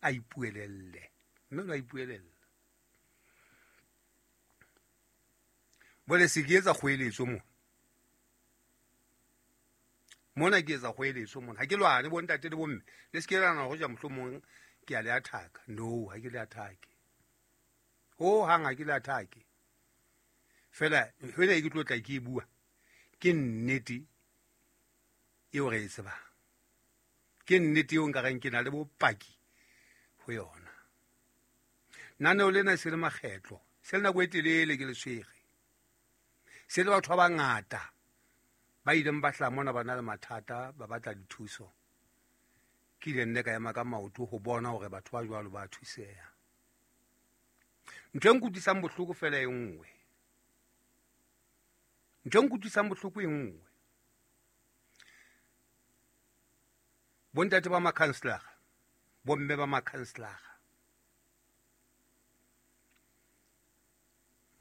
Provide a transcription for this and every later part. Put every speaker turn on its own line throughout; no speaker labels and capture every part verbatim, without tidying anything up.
A ipuelelle. Mme o a ipuelella. Bole se ke etsa kgoeletso mona. Mona ke etsa kgoeletso mona. Ha ke lwane bo ntate le bomme. Le se ke la nahana hore ja mohlomong ke a le athaka. No, ha ke le athake. Ho hang ha ke le athake. Fela hwena e ke tlo tla ke e bua. Ke nnete eo re e tsebang. Ke nnete eo nka reng ke na le bopaki ho yona. Naneo lena se le makgetlo, se le nako e telele ke le tshwere. Se le batho ba bangata ba ileng ba hlaha mona ba na le mathata, ba batla dithuso. Ke ile nne ka ema ka maoto ho bona hore batho ba jwalo ba thuseha. Ntho e nkutlwisang bohloko fela e nngwe. Ntho e nkutlwisang bohloko e nngwe. Bontate ba makhanselara, bomme ba makhanselara,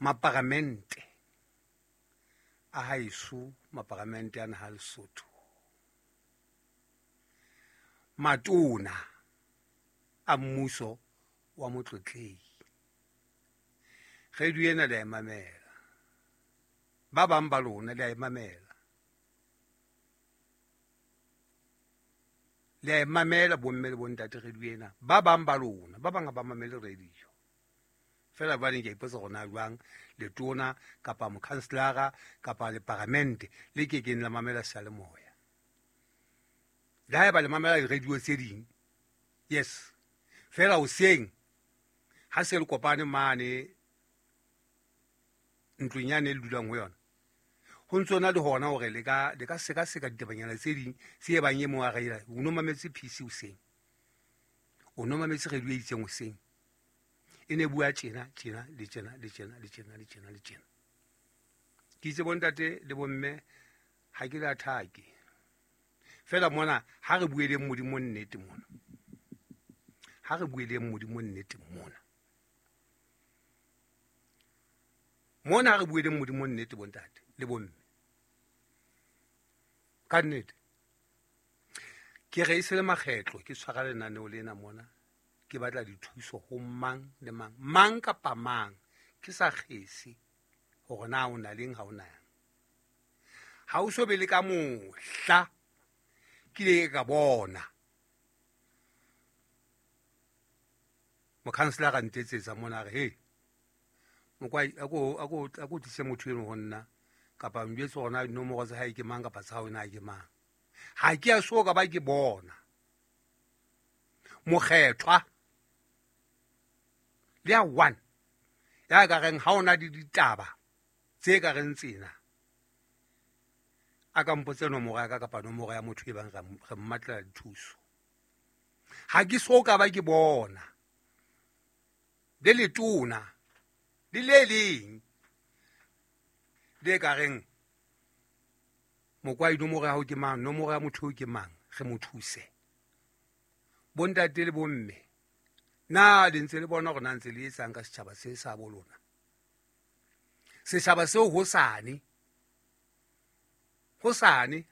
maparamente a haeso, maparamente a naha Lesotho, matona a mmuso wa motlotlehi. Radio ena le a e mamela. Ba bang ba lona le a e mamela. Le a e mamela bomme le bontate radio ena. Ba bang ba lona, ba bang ha ba mamele radio. Fela jwale ke a ipotsa hore na jwang letona kapa mokhanselara kapa leparamente le ke keng la mamela seyalemoya. Le haeba le mamela di-radio tse ding, yes. Fela hoseng ha se le kopane mane ntlong yane e le dulang ho yona, ho ntso na le hona hore le ka le ka sekaseka ditabanyana tse ding tse bang e mong a reila o no mametse P C hoseng, o no mametse radio e itseng hoseng, e ne bua tjena tjena le tjena le tjena le tjena le tjena le tjena. Ke itse bontate le bomme ha ke le athake. Fela mona ha re bueleng Modimo nnete mona. Ha re bueleng Modimo nnete mona. Mona ha re bueleng Modimo nnete bontate le bomme. Ka nnete. Ke re e se le makgetlo ke tshwara lenaneo lena mona. Ke batla dithuso ho mang le mang, mang kapa mang, ke sa kgese hore na o na leng ha o na. Ha o so be le ka mohla ke ile ka bona mokhanselara ntetsetsa mona a re, "Hey, mokwai a ko a ko a ko tlise motho eno ho nna kapa njwetse hore na dinomoro tsa hae ke mang kapa tsa hao na ke mang." Ha ke a so ka ba ke bona mokgethwa le ya one ya ka reng ha ona di ditaba tse ka reng tsena a ka mpotse nomoro ya ka kapa nomoro ya motho e bang re mmatlela dithuso. Ha ke so ka ba ke bona le letona le le leng le ka reng mokwai nomoro ya hao ke mang, nomoro ya motho ke mang, re mo thuse. Bontate le bomme, na le ntse le bona hore na ntse le etsang ka setjhaba se sa bo lona? Setjhaba seo hosane, hosane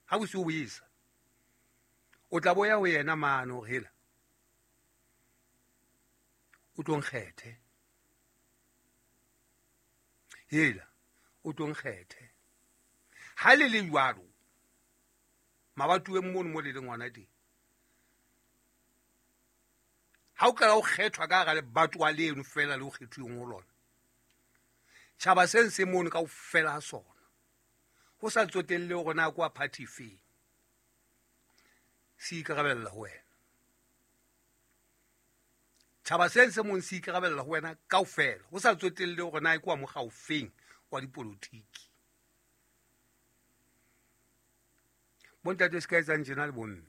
ha bosiu bo esa, o tla boya ho yena mane hore hela o tlo nkgethe, hela o tlo nkgethe. Ha le le jwalo mabatuweng mono mo le leng hona teng, ha o qala o kgethwa ka hara lebatowa leno fela le o kgethuweng ho lona, tjhaba se se mono kaofela ha sona, ho sa tsotelle hore na kwa party feng, se ikarabella ho wena. Tjhaba se se mong se ikarabella ho wena kaofela, ho sa tsotelle hore na kwa mokga ofeng wa dipolotiki. Bontate se ka etsang tjena le bomme,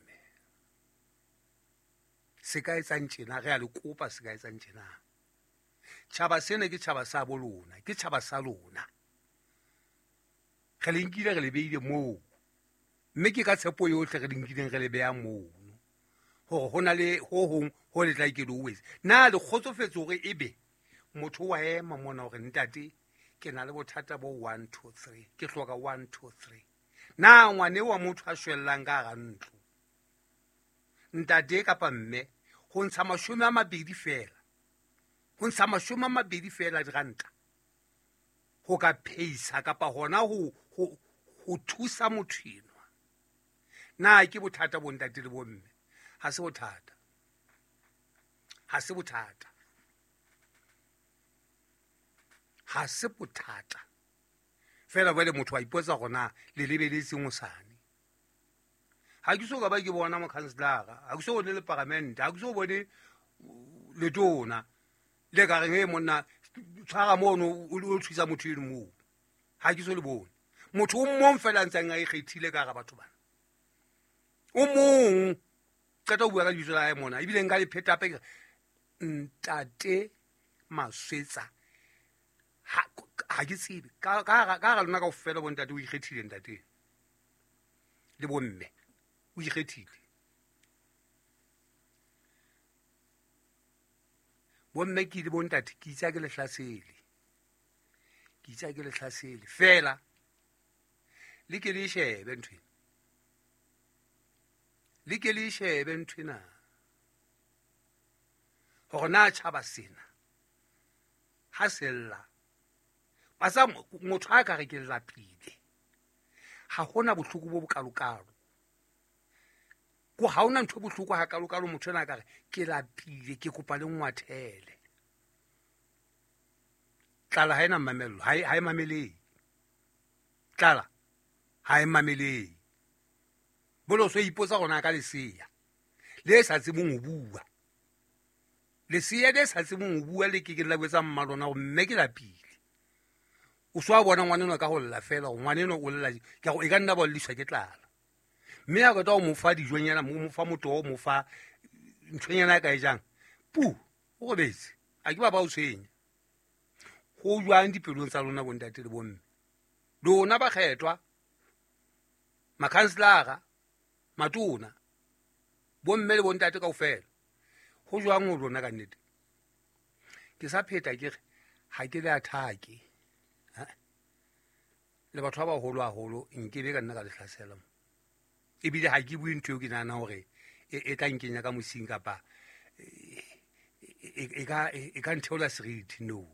se ka etsang tjena, re a le kopa se ka etsang tjena. Tjhaba sena ke tjhaba sa bo lona, ke tjhaba sa lona. Re le nkile re le beile moo, mme ke ka tshepo yohle re le nkileng re le beha mono, hore ho na le ho hong ho le tla ke le o etse. Na le kgotsofetse hore ebe motho wa ema mona hore ntate ke na le bothata bo one two three, ke hloka one two three. Na ngwane wa motho a shwellang ka hara ntlo, ntate kapa mme, Ho ntsha mashome a mabedi fela. Ho ntsha mashome a mabedi fela diranta. Ho ka pheisa kapa hona ho ho ho thusa motho enwa. Na ke bothata bo ntate le bomme? Ha se bothata. Ha se bothata. Ha se bothata. Fela jwale motho a ipotsa hore na le lebeletseng hosane. Ha ke so ka ba ke bona mokhanselara, ha ke so bone le paramente, ha ke so bone letona le ka reng e monna tshwara mono o thusa motho eno moo. Ha ke so le bone. Motho o mong fela a ntseng a ikgethile ka hara batho bana. O mong qeta ho bua ka lebitso la hae mona, ebile nka le pheta hape ke re Ntate Maswetsa. Ha ha ke tsebe ka ka ka hara lona kaofela bo ntate o ikgethile ntate le bomme o ikgethile. Bomme ke le bontate ke itse ke le hlasele. Ke itse ke le hlasele fela le ke le shebe ntho ena. Le ke le shebe ntho ena. Hore na tjhaba sena ha sella ba sa motho a ka re ke lapile. Ha hona bohloko bo bokalokalo. Ko ha hona ntho bohloko ha kalokalo motho ena ka re ke lapile ke kopa le ngwathele. Tlala ha ena mamello, ha e ha e mamelehe. Tlala ha e mamelehe. Bolo so ipotsa rona ka leseya le sa tsebeng ho bua. Leseya le sa tsebeng ho bua le ke ke la botsa mma lona hore mme ke lapile. O so a bona ngwaneno ka ho lla fela, ngwaneno o lla ke go e ka nna ba lliswa ke tlala. Mme a qeta ho mo fa dijonyana, mo fa motoho, mo fa nthonyana ka e jang. Pu, o robetse. A ke ba ba o tshwenya. Ho jwang dipelong tsa lona bontate le bomme? Lona ba kgethwa, makhanselara, matona, bomme le bontate kaofela. Ho jwang ho lona ka nnete? Ke sa pheta ke re ha ke le athake. Le batho ba baholo haholo nkebe ka nna ka le hlasela mo. Ebile ha ke bue ntho eo ke nahana hore e tla nkenya ka mosing kapa e ka e ka ntheola seriti. No.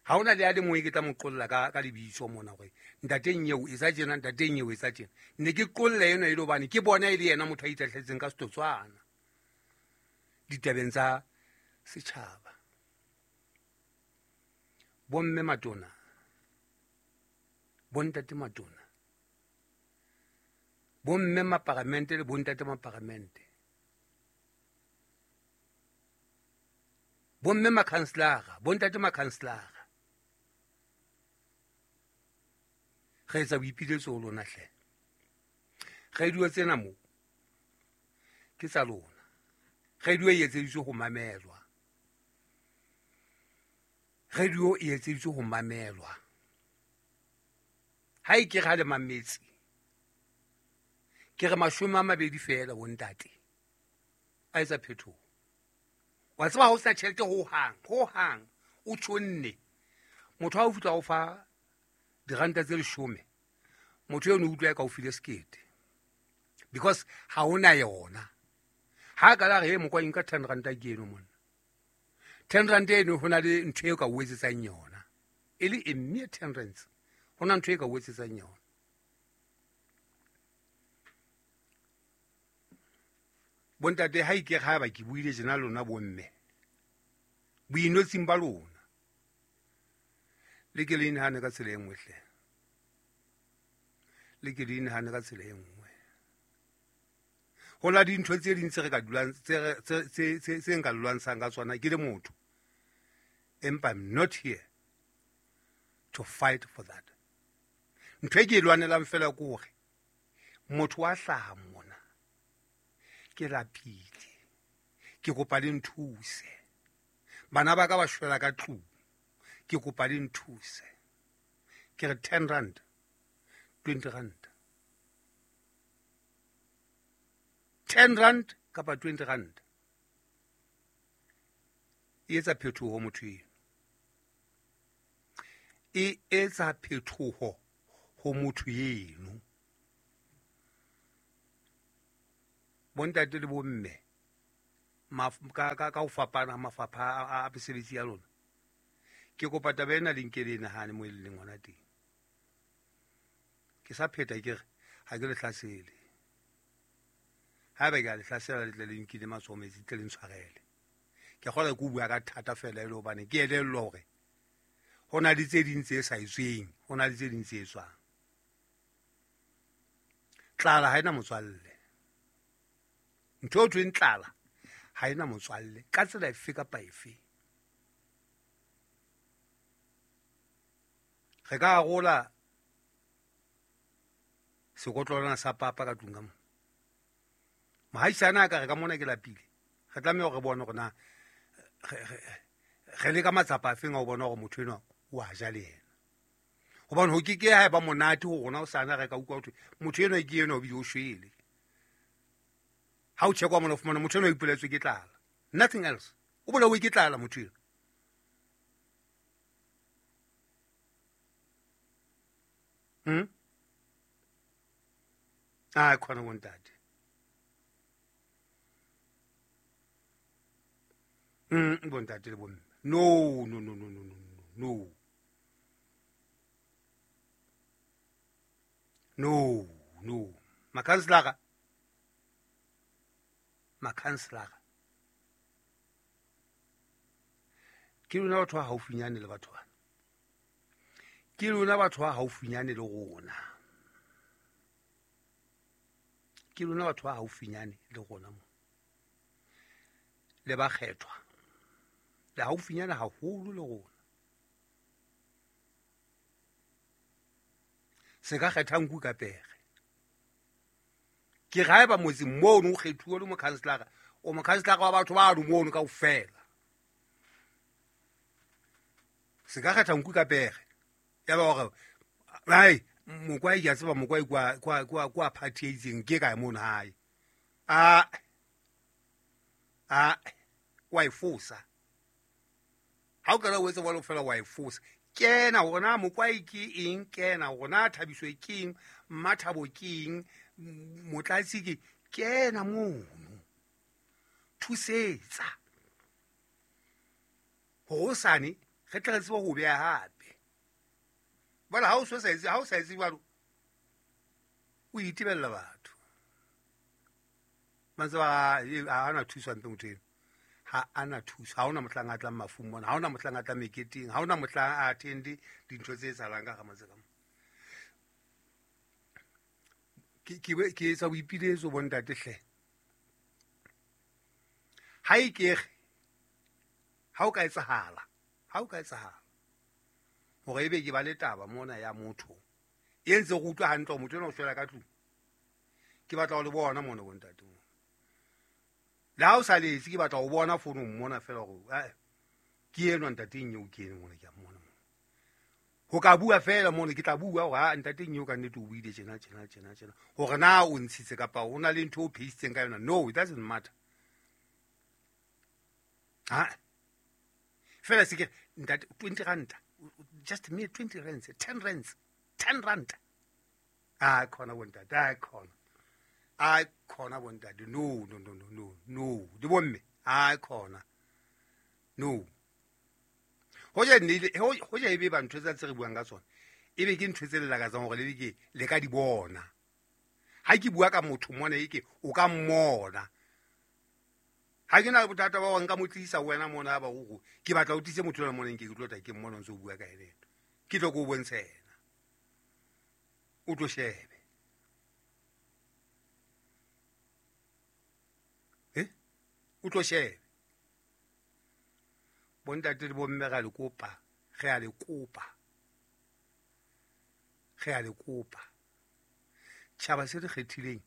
Ha hona le a le mong ke tla mo qolla ka ka lebitso mona hore ntateng eo e sa tjena, ntateng eo e sa tjena. Ne ke qolle eno e le hobane ke bona e le yena motho a itahletseng ka setotswana ditabeng tsa setjhaba. Bomme matona, bontate matona, bomme maparamente le bontate maparamente, bomme makhanselara, bontate makhanselara. Re etsa boipiletso ho lona hle. Radio tsena mo ke tsa lona. Radio e etseditswe ho mamelwa. Radio e etseditswe ho mamelwa. Ha e ke ra le mametse. Ke re mashome a mabedi fela bontate. A etsa phetoho. Wa tseba ha o sena tjhelete ho hang, ho hang o tjhonne. Motho ha o fihla o fa diranta tse leshome, motho eno o utlwa ka o file sekete. Because ha hona yona. Ha ka la re mokwa nka ten ranta ke eno monna. ten rand eno hona le ntho eo ka o etsetsang yona. E le e mere ten rands. Hona ntho e ka o etsetsang yona. Bontate ha ike ha ba ke buile tjena lona bomme. Boinotsing ba lona. Le ke le inahane ka tsela e nngwe hle. Le ke le inahane ka tsela e nngwe. Ho la dintho tse ding tse re ka dulang tse tse tse tse nka lwantshang ka tsona ke le motho. Empa I'm not here to fight for that. Ntho e ke e lwanelang fela ke hore motho wa hlaha mona. Ke lapile. Ke kopa le nthuse. Bana ba ka ba shwela ka tlung. Ke kopa le nthuse. Ke re ten rand, twenty rand. ten rand kapa twenty rand. E etsa phetoho motho eno. E etsa phetoho ho motho eno. Bontate le bomme, ka ka ka ho fapana mafapha a mesebetsi ya lona. Ke kopa taba ena le nke le nahane mo e leng hona teng. Ke sa pheta ke re ha ke le hlasele. Haeba ke a le hlasela le tle le nkile matsoho metsi tle le ntshwarele. Ke kgona ke bua ka thata fela e le hobane ke elellwa hore ho na le tse ding tse sa etsweng, ho na le tse ding tse etswang. Tlala ha ena motswalle. Ntho e thweng tlala ha ena motswalle ka tsela efe kapa efe. Re ka arola sekotlolwana sa papa ka tlung ka mona. Mohaisane a ka re ka mona ke lapile. Re tlameha hore re bone hore na re le ka matsapa afeng a ho bona hore motho enwa o a ja le yena. Hobane ho ke ke ha eba monate ho rona o sana re ka utlwa ho thwe motho enwa ke enwa o bile o shwele. Ha o checkwa mona o fumana motho enwa o ipoletswe ke tlala. Nothing else. O bolauwe ke tlala motho enwa. Hmm? Ah, khona bontate. Mm, bontate le bomme. No, no, no, no, no, no, no. No, no. Makhanselara. Makhanselara. Ke lona batho ba haufinyane le batho bana. Ke lona batho ba haufinyane le rona. Ke lona batho ba haufinyane le rona mo. Le ba kgethwa. Le haufinyane haholo le rona. Se ka kgetha nku ka pere. Ke re haeba motseng mono o kgethuwe le mokhanselara, o mokhanselara wa batho ba no mono kaofela. Se ka kgetha nku ka pere. Ya ba hore hai mokwai ke a tseba mokwai kwa kwa kwa kwa party e itseng ke kae mono hae. A a wa e fosa. Ha o ka o etsa jwalo fela wa e fosa. Kena hore na mokwai ke eng, kena hore na Thabiso ke eng, Mmathabo ke eng, Motlatsi ke kena mono. Thusetsa. Hosane re tle re tsebe ho beha hape. Bala ha o so sa etse, ha o sa etse jwalo o itebella batho. Ba ntse ba ha ana thuso hampe motho eno. Ha ana thuso, ha hona mohlang a tlang mafung mona, ha hona mohlang a tlang meketeng, ha hona mohlang a attende dintho tse etsahalang ka hara motse ka mona. Ke ke ke etsa boipiletso bontate hle. Ha e ke re ha o ka etsahala, ha o ka etsahala hore ebe ke ba le taba mona ya motho e ntse re utlwa hantle hore motho enwa o shwela ka tlung. Ke batla ho le bona mona bontate mo. Le ha o sa letse ke batla ho bona founong mona fela hore eh ke enwa ntateng eo ke eno mona ke a mmona mona. Ho ka bua fela mona ke tla bua hore ha ntateng eo ka nnete o buile tjena tjena tjena tjena. Hore na o ntshitse kapa o na le ntho o pheisitseng ka yona. No, it doesn't matter. Ha fela se ke ntate twenty rand. Just me twenty rands, ten rands, ten rand. Ah, khona bontate, ah khona. Ah khona bontate. No, no, no, no, no, no. Di bomme. Ah khona. No. Hoja ne hoja ebe ba ntho tsa tse re buang ka tsona. Ebe ke ntho tse le lakatsang hore le ke le ka di bona. Ha ke bua ka motho mona e ke o ka mmona. Ha ke na bothata ba hore nka mo tlisa wena mona ba go ke batla o tlise motho mona nke ke tlo tla ke mmona ntse o bua ka ene. Ke tlo go bontsha yena. O tlo shebe. Eh? O tlo shebe. Bontate le bomme ga le kopa, re a le kopa. Re a le kopa. Tjhaba se re kgethileng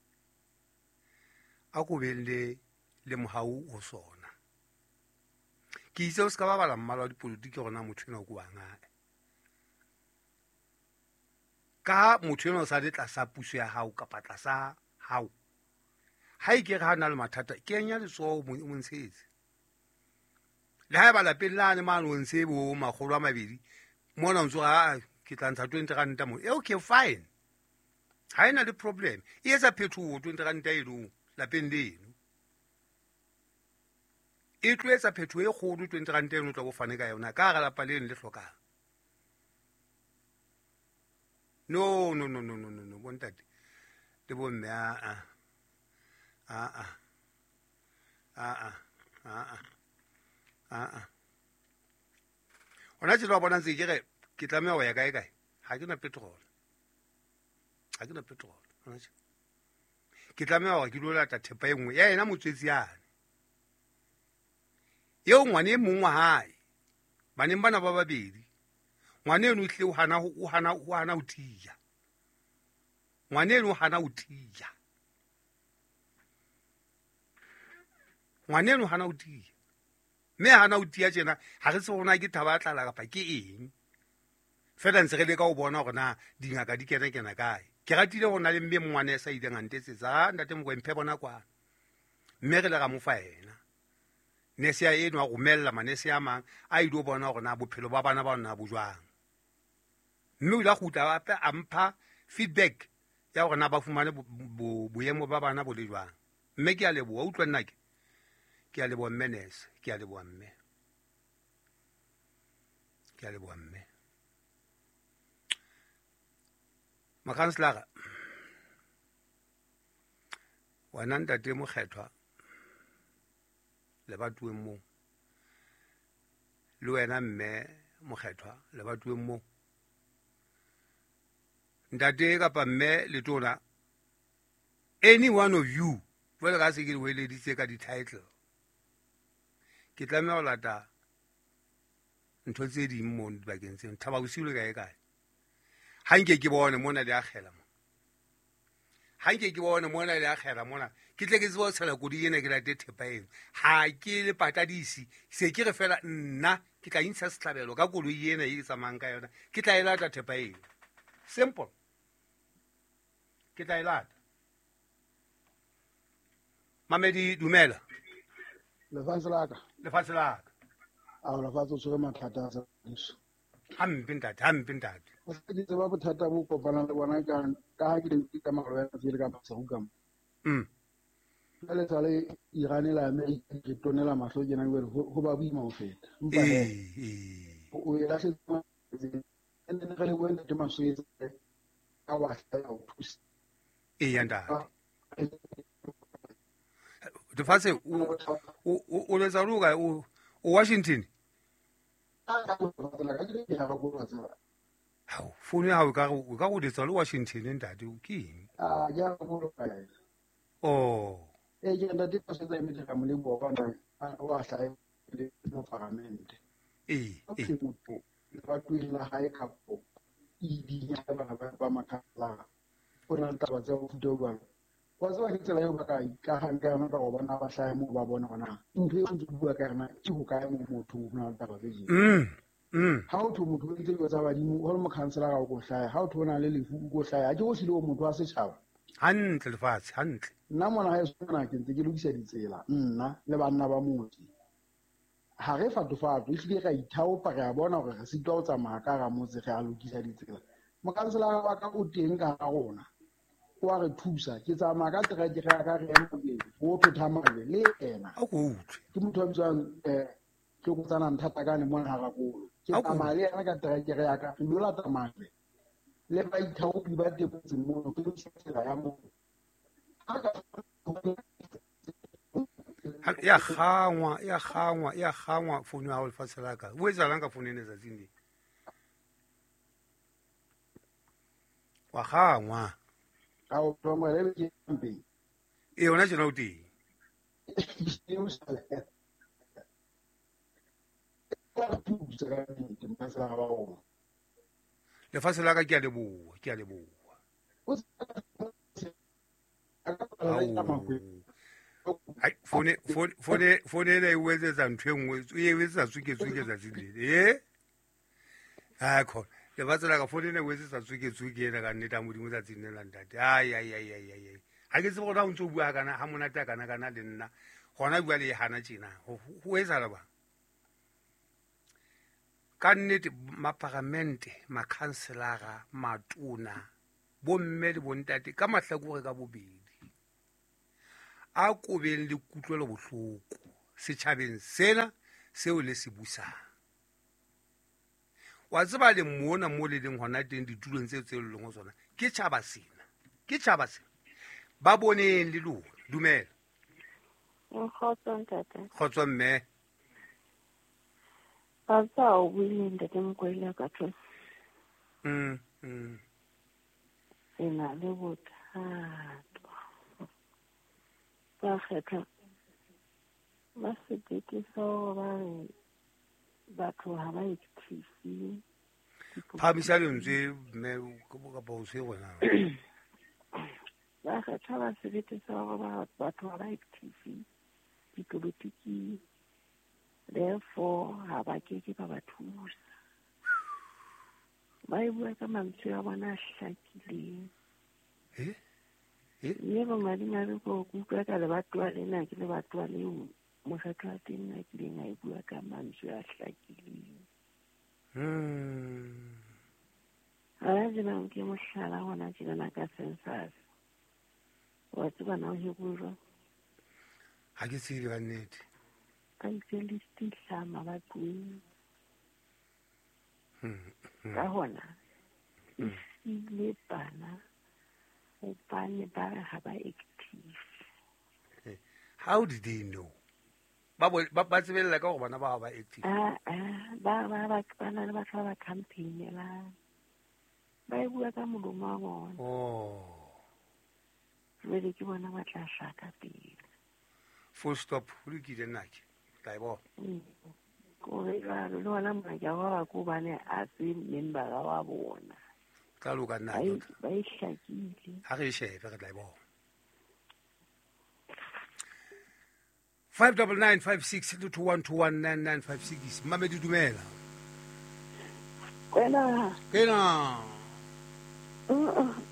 a ko beng le le mohau o sona. Ke itse o ska ba bala mmala wa dipolotiki hore na motho enwa ke wa ngae. Ka motho enwa o sa le tlasa puso ya hao kapa tlasa hao. Ha e ke re ha na le mathata, kenya letsoho o mo ntshetse. Le haeba lapeng lane mane o ntse bo makgolo a mabedi, mona o ntso ha ke tla ntsha twenty rand mo. E okay fine. Ha ena le problem. E etsa phetoho twenty rand eno lapeng leno. E tlo etsa phetho e kgolo twenty rand eno o tla bo fane ka yona ka hara lapa leno le hlokang. No no no no no no no bontate le bomme a a a a a a a a a ona tjena wa bona ntse ke re ke tlameha ho ya kae kae ha ke na petrol ha ke na petrol ona tjena ke tlameha hore ke lo lata thepa e nngwe ya yena motswetsi yane eo ngwane e mong wa hae baneng bana ba babedi ngwane eno o hlile o hana o hana o hana ho tiya ngwane eno o hana ho tiya ngwane eno o hana ho tiya mme hana ho tiya tjena ha re tsebe hore na ke thaba ya tlala kapa ke eng fela ntse re leka ho bona hore na dingaka di kena kena kae. Ke ratile ho na le mme mongwane sa ileng a ntetsetsa ntate Mokoena mphe bona kwana mme re le ra mo fa yena nese ya eno a romella manese a mang a ile bona hore na bophelo ba bana ba nna bo jwang mme o ile a kgutla hape a mpha feedback ya hore na ba fumane boemo ba bana bo le jwang mme ke a leboha utlwa nna ke ke a leboha mme nese ke a leboha mme ke a leboha mme makhanselara wena ntate Mokgethwa le batuweng moo le wena mme Mokgethwa le batuweng moo ntate kapa mme letona any one of you jwale ka se ke le weleditse ka di-title ke tlameha ho lata ntho tse ding moo dibakeng tseno Thaba Bosiu le kae kae ha nke ke bone mona le akgela mo ha nke ke bone mona le akgela mona ke tle ke tsebe ho tshela kodi ena ke late thepa eno ha ke le patadisi se ke re fela nna ke tla intsha sehlabelo ka koloi ena e ke tsamayang ka yona ke tla e lata thepa eno simple ke tla e lata. Mamedi dumela
lefatshe la ka
lefatshe la ka
a lefatshe o tshwere mathata a sa
hampe ntate hampe ntate
o se ke tseba bothata bo kopanang le bona ka ka ha ke ne ke tsamaya le wena tsele ka Maseru ka mo
mm
jwale sale Iran le America re tonela mahlo tjena jwale ho ba boima ho feta empa
eh
o e lahletse ene re le wena ntate Maswetsa ka wa hlaya ho thusa
e ya ntate lefatshe o o o letsa lo kae o Washington hao founu ya hao e ka re o ka go letsa le Washington ntate o ke eng
ah ya go kae
oh
e ke ntate Maswetsa e metla molemo wa bona wa hlaya le mo paramente
e
e motho ba tuela hae kapo e di ya ba ba makhala o na le taba tsa ho futa jwalo wa tseba ke tsela eo ba ka ikahang ka yona ka go bona ba hlahe moo ba bona hore na ntho eo ntse bua ka yona ke hokae moo motho ho na le taba tse jeng
mm mm
ha o thwe motho o entse dilo tsa badimo ho le mokhanselara o ko hlaya ha o thwe o na le lefu o ko hlaya ha ke go hlile o motho wa setjhaba
hantle lefatshe hantle
nna mona ha e sona ke ntse ke lokisa ditsela nna le banna ba motse ha re fatofato ehlile ra ithaopa re a bona hore re sitwa ho tsamaya ka hara motse re a lokisa ditsela mokhanselara wa ka o teng ka hara rona o a re thusa ke tsamaya ka terekere ya ka re ema pele ho thotha majwe le ena
a ko utlwe
ke motho a bitswang um Tlokotsana Nthatakane mona Harakolo ke tsamaya le yena ka terekere ya ka re lo lata majwe le baithaopi ba teng motseng mono ke lokisa tsela ya moo
ya kgangwa ya kgangwa ya kgangwa founu ya hao lefatshe la ka o etsahalang ka founu ena tsatsing le wa kgangwa
a o tlongwele ke mpeng
e yona tjena o teng lefatshe la ka ke a leboha ke a leboha Ai phone phone phone ena e o etsetsa ntho e nngwe e o etsetsa tsuke-tsuke tsatsing lele e a khona lefatshe la ka phone ena e o etsetsa tsuke-tsuke ena ka nnete a Modimo tsatsing le la ntate ai ai ai ai ai ha ke tsebe gore ha o ntse o bua kana ha monate a kana kana le nna gona bua le e hana tjena ho etsahala bang ka nnete maparamente makhanselara matona bomme le bontate ka mahlakore ka bobedi a kobeng le kutlwelo bohloko setjhabeng sena seo le se busang. Wa tseba le mona mo le leng hona teng ditulong tseo tse leng ho tsona ke tjhaba sena, ke tjhaba sena. Ba boneng le lona. Dumela.
Kgotso ntate.
Kgotso mme.
Ba tsa o buile ntate Mokoena ka tlo.
Mm. Mm.
Re na le bothata. Ba kgetha ba sebete sa ba re batho ha ba active.
Phamisa lentswe mme kapa o se gona.
Ba kgetha ba sebete sa ba batho ha ba active dipolotiking. Therefore ha ba ke ke ba ba thusa. Ba e bua ka mantswe a bona a hlakileng.
Eh? Eh?
Mme bo madimabe ko utlwa ka lebatowa lena ke lebatowa leo mokgatlo wa teng a kileng a e bua ka mantswe a hlakileng.
Mm.
Ha ba tsebang ke mohlala hona tjenana ka census. Wa tseba na o hekwe jwang?
Ha ke tsebe ka nnete.
Ka itse list e hlaha mabatoweng.
Hmm.
Ka hona e siile bana hobane ba re ha ba active.
How did they know? Ba ba ba tsebella ka hore bana ba ba active.
Ah ah ba ba ba ba na le batho ba ba campaignelang. Ba e bua ka molomo wa bona.
Oh.
Jwale ke bona ba tla hlaka pele.
Full stop. Ho lokile nna ke. Tla e bona.
Kore jwalo le hona mona ke a roba ke hobane a se membera wa bona.
Tla loka nna
Ba
ke.
e ba e hlakile.
Ha re e shebe re tla e bona. five double nine five six two one two one nine nine five six. Mamedi dumela.
Kwena.
Kena.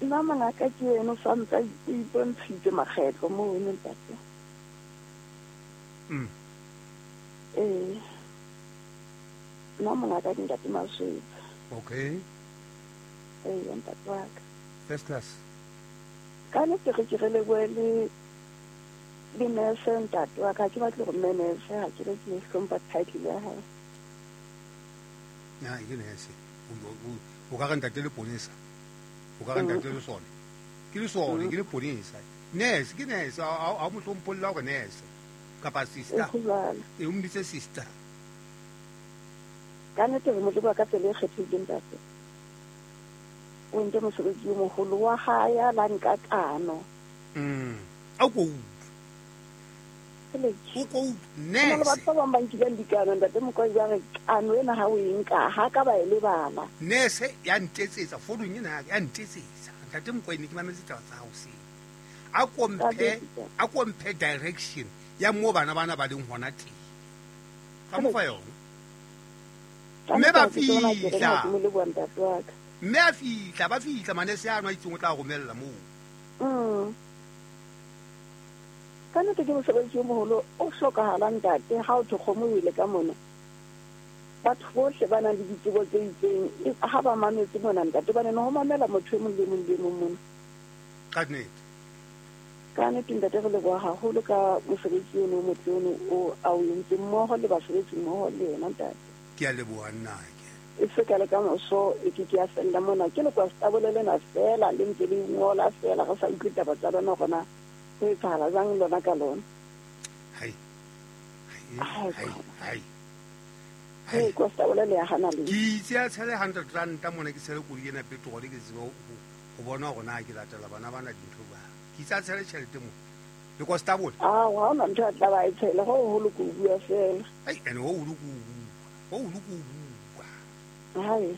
Nna mongaka ke eno sa ntse a ipontshitse makgetlo mo wena ntate.
Mm.
Eh. Nna mongaka ke ntate Maswetsa.
Okay.
Eh, ntate wa ka.
First class.
Ka nnete re ke re lebohe le le nurse ntate wa ka, ha ke batle hore mme nurse ha ke re ke hlompha title ya hae.
Na ke nurse. O ka re ntate le ponesa. O ka re ntate le sone. Ke le sone, ke le ponesa. Nurse ke nurse, ha mo hlompholla hore nurse kapa sister. E o mbitse sister.
Ka nnete re mo leboha ka tsela e kgethehileng ntate. O entse mosebetsi o moholo wa hae a la nka kano.
Mm. A ko o ko nurse.
Batho ba bang ba nkileng dikano ntate Mokoena ba re kano ena ha o e nka ha ka ba e lebala.
Nurse ya ntetsetsa founung ena ya ntetsetsa. Ntate Mokoena ke mametse taba tsa hao seng. A komphe a komphe direction ya mo bana bana ba leng hona teng. Ka mo fa yona. Mme ba fihla. Mme a fihla ba fihla manese ano a itseng o tla romella moo.
Mm. Ka nnete ke mosebetsi o moholo o hlokahalang ntate ha o thwe kgomo o ile ka mona. Batho bohle ba nang le ditsebo tse itseng ha ba mametse mona ntate ba ne ho mamela motho e mong le mong le mong mona.
Ka nnete.
Ka nnete ntate re leboha haholo ka mosebetsi ono o motle ono o a o entseng mmoho le basebetsi mmoho le yena ntate.
Ke a leboha nna ke.
E se ka le ka moso e ke ke a fella mona ke le kwa stabole lena fela le ntse le ngola fela re sa utlwe taba tsa lona hore na ho etsahala jwang lona ka lona.
Hai. Hai. Hai.
Hai kwa stabole le ya hana le.
Ke itse a tshele hundred rand mona ke tshele koloi ena petrol ke tsebe ho bona hore na ke latela bana bana dintho ba. Ke itse a tshele tjhelete mo. Le kwa stabole.
Ah, ha ona ntho a tla ba e tshele ho holo ko bua fela.
Ai ene ho holo ko bua. Ho holo ko bua.
Hai.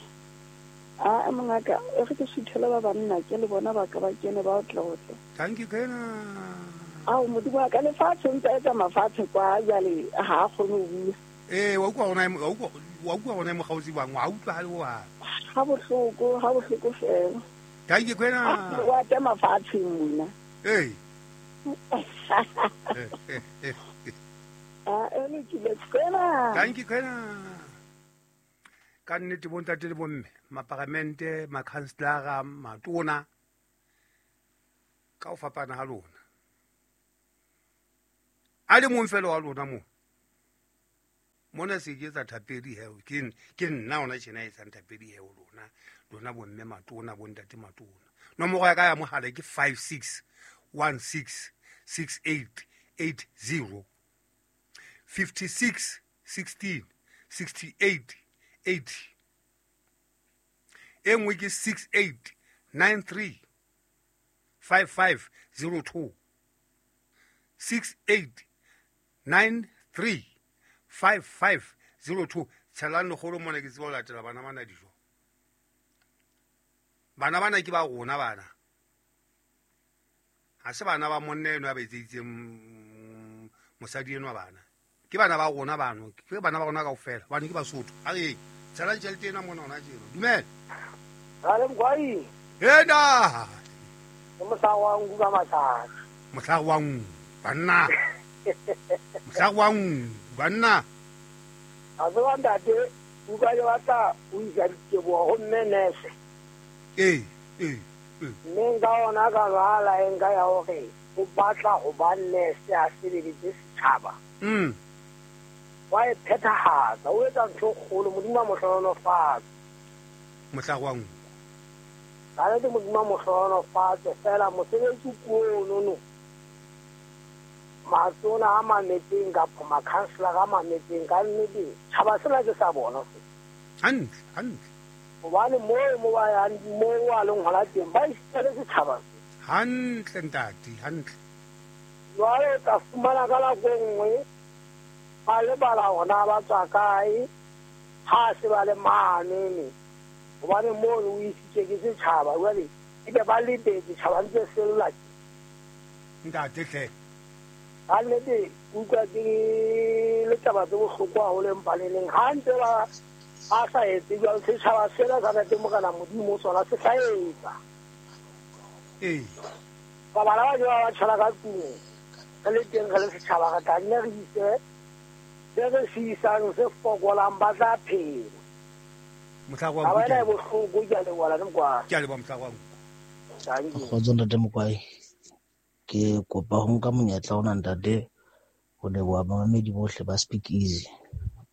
Ah, mongaka e re ke suthela ba banna ke le bona ba ka ba kene ba otla otla.
Thank you kena.
Ao modimo wa ka lefatshe ntse etsa mafatshe kwa jwale ha a kgone ho bua.
Eh, wa utlwa hona wa utlwa wa utlwa hona mokgaotsi bang wa utlwa ha le wa.
Ha bohloko, ha bohloko fela.
Thank you kena.
Wa tema fatshe mona.
Eh.
Ah, e lokile kena.
Thank you kena. Ka nnete bontate le bomme, maparamente, makhanselara, matona ka ho fapana ha lona. A le mong fela wa lona mo Mona se ke etsa thapedi he ke ke nna ona tjena e etsang thapedi he lona lona bomme matona bontate matona. Nomoro ya ka ya mohala ke five six one six six eight eight zero fifty-six sixteen sixty-eight eighty. E nngwe ke six eight nine three five five zero two six eight nine three five five zero two. Tshelang lekgolo mona ke tseba ho latela bana bana dijo. Bana bana ke ba rona bana. Ha se bana ba monna eno a ba etseditseng mosadi eno bana. Ke bana ba rona bano, ke bana ba rona kaofela. Bana ke Basotho. A re tshelang tjhelete ena mona hona tjena. Dumela.
Rale Mkwai.
Ena.
Ke mohlare wa nku ka mathata.
Mohlare wa nku banna. Mohlare wa nku banna.
A tseba ntate, utlwa ke batla ho isa diteboho ho mme nurse.
Ee, ee, ee.
Mme nka ona ka lwala e nka ya hore o batla ho ba nurse a sebeletse setjhaba.
Mm.
Wa e phethahatsa, o etsa ntho e kgolo, Modimo a mo hlohonolofatse.
Mohlare wa nku.
Ka nnete Modimo a mo hlohonolofatse fela mosebetsi ke ono no. Matona a mametseng kapa makhanselara a mametseng ka nnete tjhaba sena ke sa bona se.
Hantle, hantle.
Hobane moo mo ba yang moo a leng hona teng ba isitse setjhaba se.
Hantle ntate, hantle.
Jwale o tla fumana ka nako e nngwe ba lebala hona ba tswa kae ha se ba le mane hobane mono o isitse ke setjhaba jwale ebe ba lebetse tjhaba ntse se lla.
Ntate hle.
Ka nnete utlwa ke le taba tse bohloko haholo empa le leng ha ntse ba a sa etse jwalo setjhaba sena sa ntate Morena Modimo sona se tla etsa.
Ee.
Ba bana ba jwa ba tjhela ka tlung re le teng re le setjhaba re tla nne re ise se re se isang se fokolang ba tla phela.
Mohlare wa nku.
Taba ena e bohloko ke a leboha le Mkwai.
Ke a leboha mohlare wa nku.
Kgotso ntate Mkwai. Ke kopa ho nka monyetla ona ntate ho leboha bamamedi bohle ba Speak Easy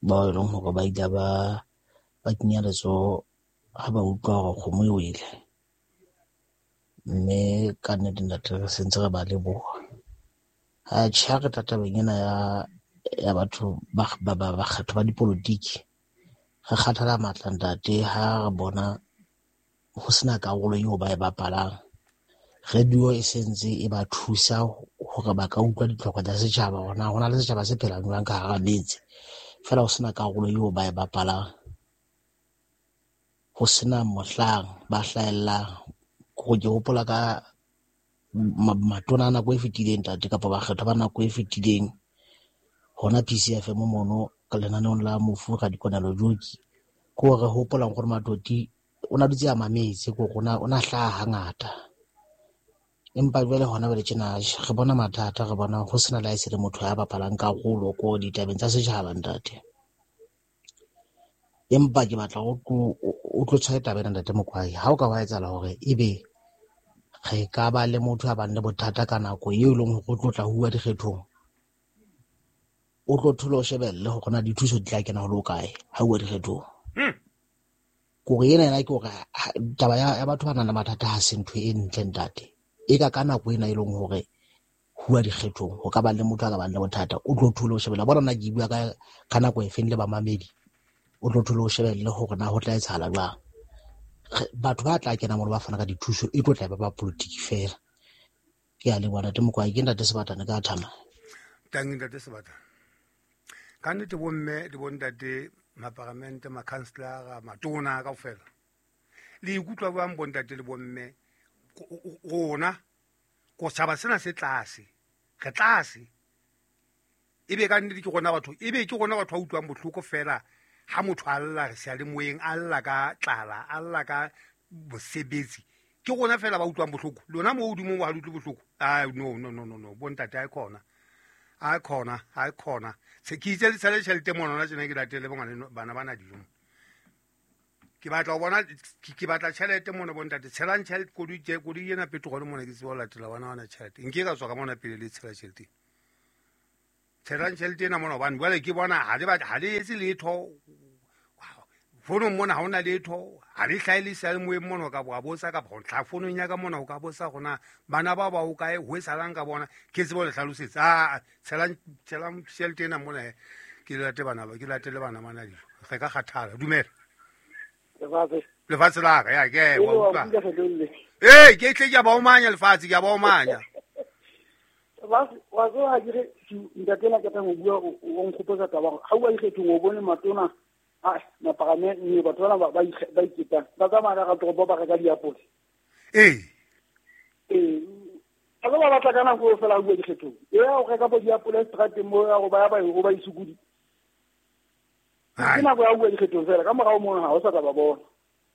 bao e leng hore ba ile ba ba kenya letsoho ha ba utlwa hore kgomo e wele. Mme ka nnete ntate re sentse re ba leboha. Atjhe ha re tla tabeng ena ya ya batho ba ba ba bakgetho ba dipolotiki re kgathala matla ntate ha re bona ho sena karolo eo ba e bapalang. Radio e sentse e ba thusa hore ba ka utlwa ditlhoko tsa setjhaba hore na hona le setjhaba se phelang jwang ka hara metse. Feela ho sena karolo eo ba e bapalang. Ho sena mohlang ba hlahellang. Ke hopola ka matona a nako e fetileng ntate kapa bakgethwa ba nako e fetileng hona P C F M mono ka lenaneong la mofu Radikonelo Joki. Ke hore re hopolang hore Matoti o na dutse a mametse ke hore o na hlaha hangata. Empa jwale hona jwale tjena re bona mathata re bona ho sena le ha e se le motho ya bapalang karolo ko ditabeng tsa setjhaba ntate. Empa ke batla o tlo tshwaye taba ena ntate Mokwai. Ha o ka wa etsahala hore ebe re ka ba le motho a bang le bothata ka nako eo e leng hore o tlo tla huwa dikgethong, o tlo thola o shebelle hore na dithuso di tla kena ho le hokae ha huwa dikgethong. Kore ena ena ke hore taba ya batho ba nang le mathata ha se ntho e ntle ntate. E ka ka nako ena e leng hore huwa dikgethong ho ka ba le motho a ka bang le bothata o tlo thola o shebella. Bona nna ke bua ka ka nako e feng le bamamedi o tlo thola o shebelle hore na ho tla etsahala jwang. Batho ba tla kena mono ba fana ka dithuso e tlo tla ba ba politiki fela. Ke a leboha ntate Mokwai, ke ntate Sebatana ka thama.
Tangi ntate Sebatana. Ka nnete bomme le bontate maparamente, makhanselara, matona kaofela. Le ikutlwa jwang bontate le bomme rona ko tshaba sena se tlase. Re tlase. Ebe ka nnete ke rona batho, ebe ke rona batho ba utlwang bohloko fela ha motho a lla re seyalemoyeng a lla ka tlala, a lla ka bosebetsi. Ke rona fela ba utlwang bohloko. Lona mo hodimo ha le utlwe bohloko. Ah no no no no no bontate ha e khona. Ha e khona, ha e khona. Se ke itse le tshele tjhelete mona hona tjena ke latele bongwane bana bana dijo. Ke batla ho bona ke batla tjhelete mona bontate. Tshelang tjhelete koloi tje koloi ena petrol mona ke tseba ho latela bana bana tjhelete. Nke ka tswa ka mona pele le tshela tjhelete. Tshelang tjhelete ena mona hobane jwale ke bona ha le ha le etse letho. Founong mona ha hona letho, ha le hlahe le seyalemoyeng mona o ka wa botsa kapa ho tla founong ya ka mona o ka botsa hore na bana ba ba hokae, ho etsahalang ka bona. Ke tsebe ho le hlalosetsa. Ah, tshelang tshelang tjhelete ena mona he. Ke late bana ba, ke latele bana bana dijo. Re ka kgathala. Dumela.
Lefatshe.
Lefatshe la ka, ya ke wa utlwa.
utlwa.
Eh, ke tle ke a ba omanya lefatshe, ke a ba omanya.
Wa wa tseba ke re ntate la ka tang o bua o nkgopotsa taba ha o ikgethong o bone matona a mapagame ne batho bana ba ba iketang ba tsamaya ka toropo ba reka diapole.
Eh.
Eh, a ba batla ka nako fela o bua dikgethong. E ya o reka bo diapole strateng mo ya go ba ya ba go ba isukudi. Ke nako ya bua dikgethong fela ka morao mono ha o sa tla ba bona.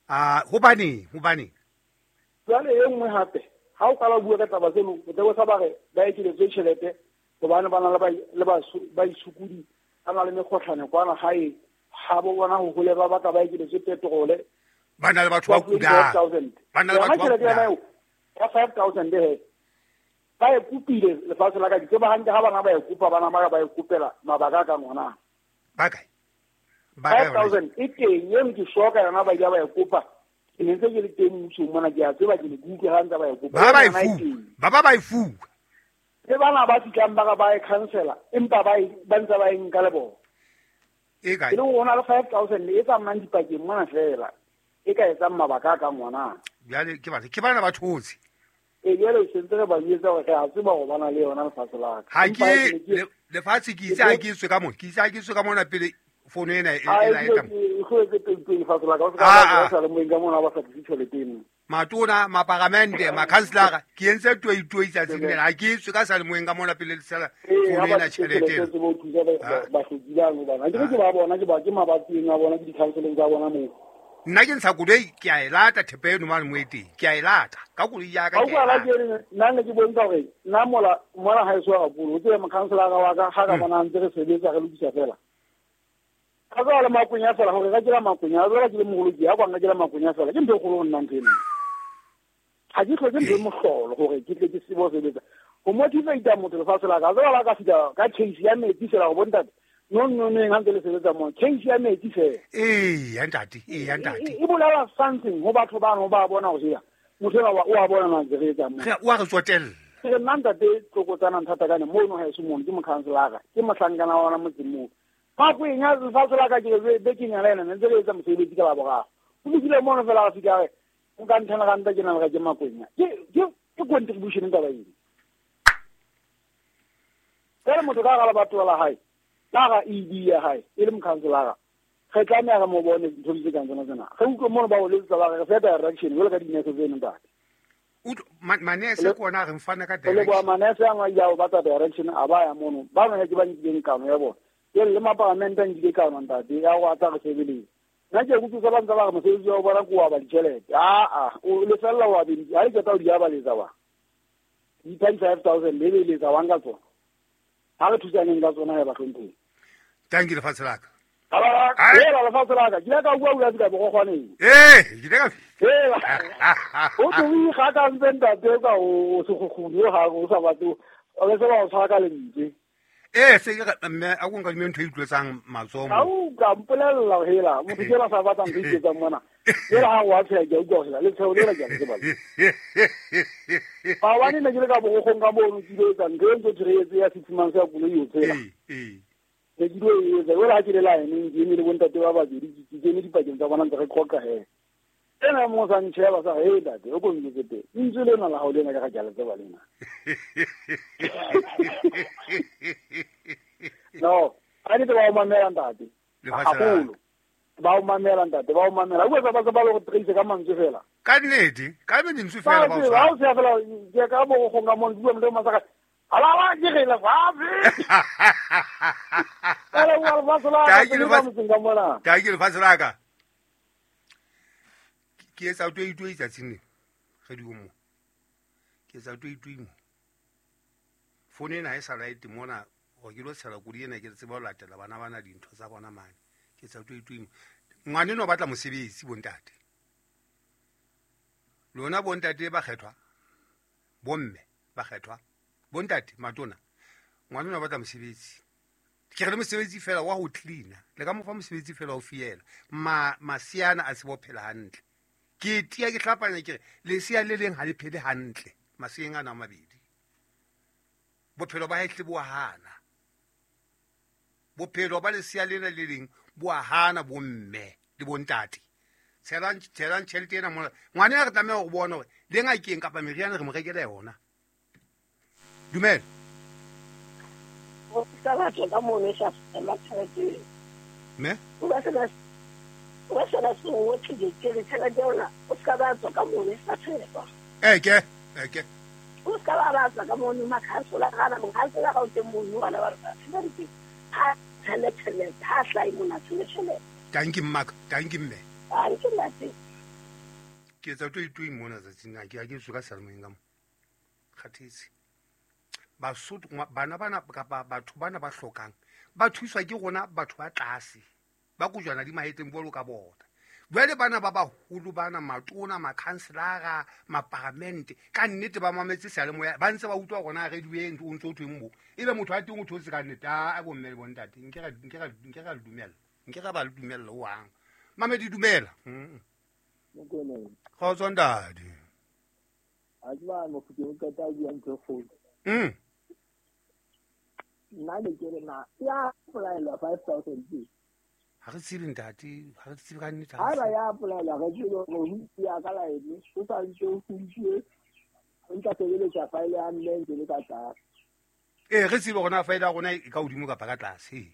Ah, hobane hobane
jwale e nngwe hape ha o qala bua ka taba tseno o tla sa ba re ba ekeletswe tjhelete hobane ba na le ba le ba ba isukudi ba na le mekgotlhane kwana hae ha bo bona ho hole ba batla ba ekeletswe petrole
ba na le batho ba kudang ba na le batho ba kudang
ka five thousand he ba e kopile lefatshe la ka ke tseba hantle ha bana ba e kopa bana ba ba e kopela mabaka ka ngwana
ba kae ba
five thousand e teng e ke shoka yona ba ile ba e kopa. Ke ne ntse ke le teng mmusong mona ke a tseba ke le kutlwe ha ntse ba e kopa.
Ba ba e fuwa. Ba ba ba e fuwa.
Le bana ba fihlang ba ba e cancela empa ba ba ntse ba e nka le bona.
E kae?
E le hore le five thousand e tsamayang dipakeng mona fela. E ka etsang mabaka ka ngwana.
Jwale ke batho ke bana ba thotse.
E jwale se ntse re ba jwetsa hore re a tseba hore ba na le yona lefatshe la ka.
Ha ke lefatshe ke itse ha ke tswe ka mona. Ke itse ha ke tswe ka mona pele fono ena e la eta. Matona, maparamente, makhanselara, ke entse toitoi tsatsing lena. Ha ke tswe ka salemoyeng ka mona pele le sala fono ena tjhelete ena. Nna ke ntsha koloi ke a e lata thepa eno mane mo e teng. Ke a e lata ka koloi ya ka ke a e lata.
Nna ne ke bontsha hore nna mola mola ha e so haholo. O tsebe mokhanselara wa ka ha ka bona ntse re sebetsa re lokisa fela. Ka tswa le makonya fela hore ka kela makonya a tswa ke le moholo ke ya kwanga kela makonya fela ke ntho e kgolo ho nna ntho eno. Ha ke hloke ntho e mohlolo hore ke tle ke tsebe ho sebetsa. Ho motivate motho lefatshe la ka tswa la ka fihla ka case ya metsi fela ho bontate no no no ha ntse le sebetsa mo case ya metsi fela.
Eh ya ntate, eh ya ntate.
E bolela something ho batho ba no ba bona ho sia. Motho ena o a bona na ntse re etsa mo.
Re o a re tsotella.
Ke nna ntate tlokotsana nthata kana mo no ha e se mono ke mokhanselara ke mohlankana wa ona motseng moo. Makwenya lefatshe la ka ke re bekeng ya lena ntse re etsa mosebetsi ka la boraro. O lokile mono fela a fika re o ka nthana ka nta ke na le ke makwenya. Ke ke ke contribution taba ena. Ka motho ka ga la batho la hae. Ka ga E D ya hae e le mokhanselara. Re tlameha re mo bone dintho tse kang tsona tsena. Re utlwe mono ba o letsa ba re re fa direction jwalo ka dinese tseno ntate.
Manese ke ona re mfana ka direction.
Le bo manese a ngwa ya o batla direction a ba ya mono. Ba bangwe ke ba nkileng kano ya bona. Ke le mapalamente a nkile kano ntate ya go atla re sebeletse. Nna ke kutlwa ba ntse ba re mosebetsi wa bona ke wa ba ditjhelete. Ah ah, o lefella wa bedi. Ha le qeta ho di abaletsa wa. Di thirty-five thousand le beletsa wa nka tsona. Ha re thusaneng ka tsona ya bahlomphehi.
Thank you lefatshe la ka.
Hela lefatshe la ka. Ke ile ka bua bua ka bogogwaneng.
Eh, ke ile ka.
Hela. O tlo o ikgaka ntse ntate ka o sekgukguni ha o sa batle. O le se ba o tshwara ka lentswe.
Eh, se ke mme a go nka mme ntho e utlwetsang matsoho mo.
Ha o ka mpolella hela, motho ke la sa batlang go iketsang mona. Hela ha wa tsheya ke utlwa hela, le tsheo le la ke a tseba. Ba wa ne ke le ka bogogong ka mono ke ile etsa ntho e ntse re etse ya six months ya koloi o tsela.
Eh, eh.
Ne ke ile etsa hela ha ke le line ke eme le bontate ba babedi ke kene dipakeng tsa bona ntse re qoqa he. Ena mo sa ntsheba sa he ntate o ko ntse teng. Ntse lena la hao lena ka ga ke a le tseba lena. No, a ne ba o mamela ntate. Haholo. Ba o mamela ntate, ba o mamela. O etsa ba ba le go trace ka mantswe fela.
Ka nnete, ka mantswe fela ba o
tshwara. Ba o fela ke ka bo go nga mo bua motho masaka. Ala la ke re la fatshe. Ala wa lefatshe la ka ke motseng ka mona.
Ka ke lefatshe la ka. Ke etsa toitoi tsatsing le. Re di mo. Ke etsa toitoi mo. Fono ena ha e sa right mona hore ke lo tshela koloi ena ke tsebe ho latela bana bana dintho tsa bona mane. Ke etsa toitoi mo. Ngwana eno o batla mosebetsi bontate. Lona bontate ba kgethwa. Bomme ba kgethwa. Bontate matona. Ngwana eno o batla mosebetsi. Ke re le mosebetsi fela wa ho cleaner le ka mo fa mosebetsi fela o fiela ma masiana a se bo phela hantle. Ke tia ke hlapanya ke re lesea le leng ha le phele hantle maseng ana a mabedi. Bophelo ba hae bo hana. Bophelo ba lesea lena le leng bo hana bomme le bontate. Tshelang tshelang tjhelete ena mona. Ngwana ya re tlameha ho bona hore le ngakeng kapa meriana re mo rekela yona. Dumela.
O sa batla ka mono sa la tjhelete.
Me?
O ba sena o ba sena se o tlile ke le tjhelete yona o ska ba tswa ka mono sa tjhelete.
Eh ke eh ke.
O ska ba ba tswa ka mono makhansola ga na mokhansola ga o teng mono bana ba re tjhelete. Ha tjhelete ha hlai mona tjhelete.
Thank you maka, thank you mme.
A ke ntate.
Ke etsa to itui mona tsatsing a ke a ke tswa ka salmoeng ka mo. Kgathetse. Basotho bana bana kapa batho bana ba hlokang ba thuswa ke rona batho ba tlase ba kojwana di mahetleng bolo ka bona. Jwale bana ba baholo bana matona makhanselara maparamente ka nnete ba mametse seyalemoya ba ntse ba utlwa rona radio e ntse o ntse o thweng mo ebe motho a teng o thotse ka nnete a bomme le bontate nke ra nke ra nke ra dumela nke ra ba le dumella o hang mamedi dumela kgotso ntate
a tswa mo ke ka ta bua ntho kgolo
mm
nna le ke re na ya applyela five thousand
ha re tsebe ntate ha re tsebe ka nnete
ha ba ya applyela re tsebe hore ya ka laene o sa ntse o funtse o ntse sebeletsa file ya mme ntse le ka tlase
eh re tsebe rona file ya rona e ka hodimo kapa ka tlase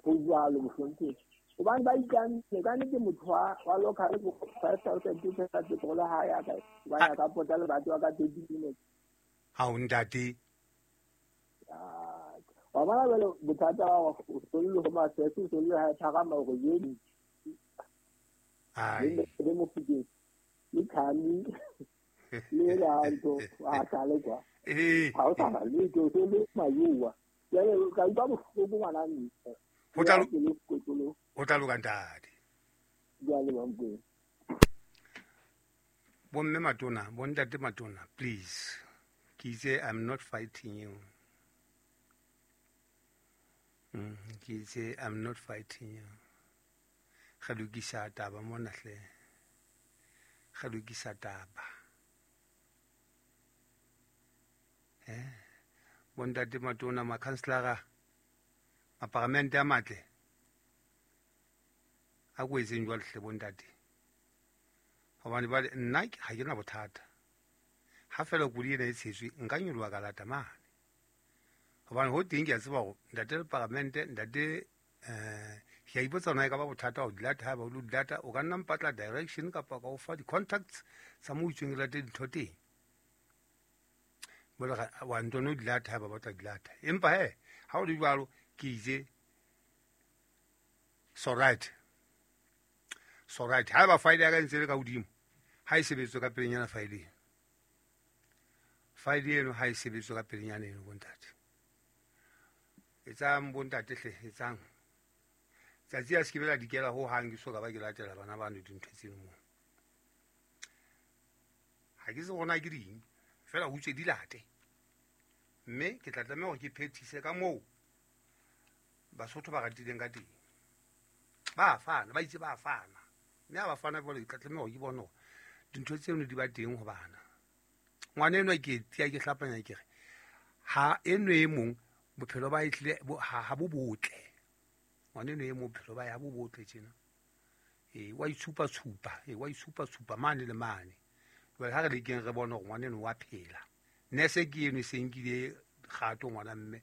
go jwalo mohlomphegi hobane ba ikanne ka nnete motho wa wa local five thousand ke tsa petrol ha ya ka ba ya ka pota le batho ba ka thirty minutes
ha o ntate
wa bona jwale bothata ba o solle ho masese o solle ha phagama hore yeni
ai
le Mofokeng le Khami le la ntho a sale kwa
eh
ha o sa le ke o solle mayowa jwale ka utlwa bohloko ngwana mme
ho tla ho tla loka ntate
jwale ba mkweng
bomme matona bontate matona please ke itse I'm not fighting you. Mm, ke itse I'm not fighting you. Re lokisa taba mona hle. Re lokisa taba. Eh bontate matona makhanselara maparamente a matle a ko etseng jwale hle bontate hobane ba nna ha ke na bothata ha fela kodi ena e tshetswe nka nyoloha ka lata mane hobane ho teng ke a tseba hore ntate le paramente ntate eh ke a ipotsa hore na e ka ba bothata ho di lata ha ba o di lata o ka nna mpatla direction kapa ka o fa di-contacts tsa moo itsweng ke late dintho teng jwale wa ntone o di lata ha ba batla di lata empa he ha o le jwalo ke itse so right so right ha ba file ya ka ntse le ka hodimo ha e sebetswe ka pelenyana file eno file eno ha e sebetswe ka pelenyana eno bontate etsang bontate hle etsang tsatsi a se ke bela dikela ho hang ke so ka ba ke latela bana ba no dintho tseno mo ha ke se gona ke ding fela ho tswe di late mme ke tla tlameha hore ke phethise ka moo Basotho ba ratileng ka teng ba fana ba itse ba fana mme ha ba fana jwale ke tla tlameha hore ke bone hore dintho tseno di ba teng ho bana ngwana enwa ke tia ke hlapanya ke re ha eno e mong bophelo ba ehlile ha bo botle ngwana eno e mong bophelo ba ya bo botle tjena eh wa itshupa tshupa eh wa itshupa tshupa mane le mane jwale ha re lekeng re bone hore ngwana eno wa phela nese ke eno e se nkile kgato ngwana mme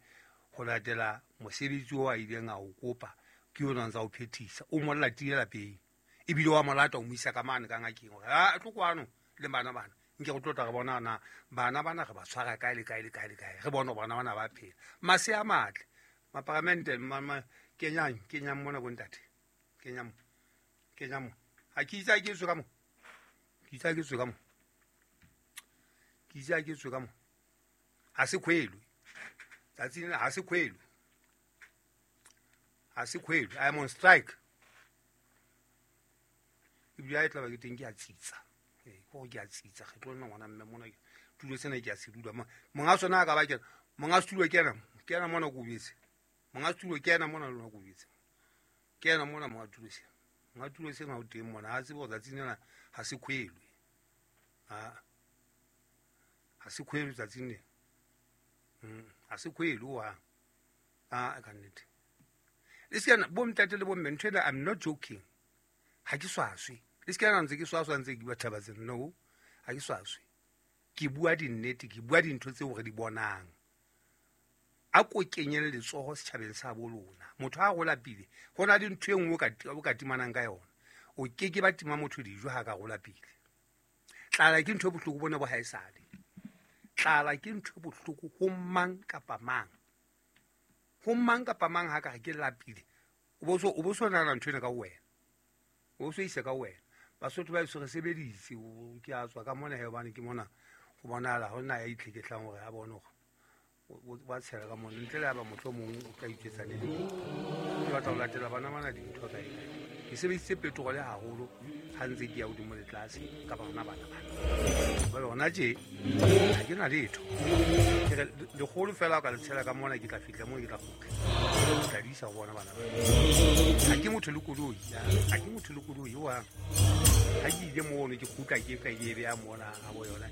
ho latela mosebetsi o a ileng a o kopa ke yona ntsa o phethisa o mo latile lapeng ebile wa mo lata o mo isa ka mane ka ngakeng hore a tlo kwano le bana bana nke go tlotla re bona na bana bana re ba tshwara kae le kae le kae le kae re bone bana bana ba phela mase a matle maparamente kenyang kenyang mona bontate kenyang kenyang ha ke itse ke tswe ka mo ke itse ke tswe ka mo ke itse ke tswe ka mo ha se khwelo tsatsi lena ha se khwelo ha se khwelo I am on strike ebile ha e tla ba ke teng ke a tsitsa eh go ke a tsitsa ge tlo nna ngwana mme mona tulo sena ke a se dula monga sona a ka ba kena monga setulo kena kena mona ko betse Monga tulo ke ena mona lona ko bitse. Ke ena mona monga tulo sena. Monga tulo sena o teng mona ha tsebe hore tsatsing lena ha se kgwelwe. Ha ha se kgwelwe tsatsing lena. Mm, ha se kgwelwe wa. Ah ka nnete. Le se kana bo ntate le bo mme ntho ena I'm not joking. Ha ke swaswe. Le se kana ntse ke swaswa ntse ke bua taba tsena. No, ha ke swaswe. Ke bua dinnete, ke bua dintho tseo re di bonang. A ko kenyele letsoho setjhabeng sa bo lona. Motho ha gola pele, ho na le ntho e nngwe o ka o ka timanang ka yona. O ke ke ba tima motho dijo ha ka gola pele. Tlala ke ntho e bohloko bona bo haesale. Tlala ke ntho e bohloko ho mang kapa mang. Ho mang kapa mang ha ka re ke lapile. O bo so o bo so nahana ntho ena ka wena. O bo so isa ka wena. Basotho ba eso re sebeditse, ke a tswa ka mona he hobane ke mona ho bonahala ho nna ya itlheketlang hore ha bone hore ba tshela ka mona ntle le ha ba mohlomong o tla iketsa le leng. Ke batla ho latela bana bana dintho kae kae. Ke sebedisitse petrol haholo ha ntse ke ya hodimo le tlase ka bana bana bana. Jwale hona tje ha ke na letho. Ke re lekgolo fela o ka le tshela ka mona ke tla fihla moo ke tla kgutla. Ke tla di isa ho bona bana bana. Ha ke motho le koloi, ha ke motho le koloi wa. Ha ke ile mono ke kgutla ke ka ke beha mona ha bo yona.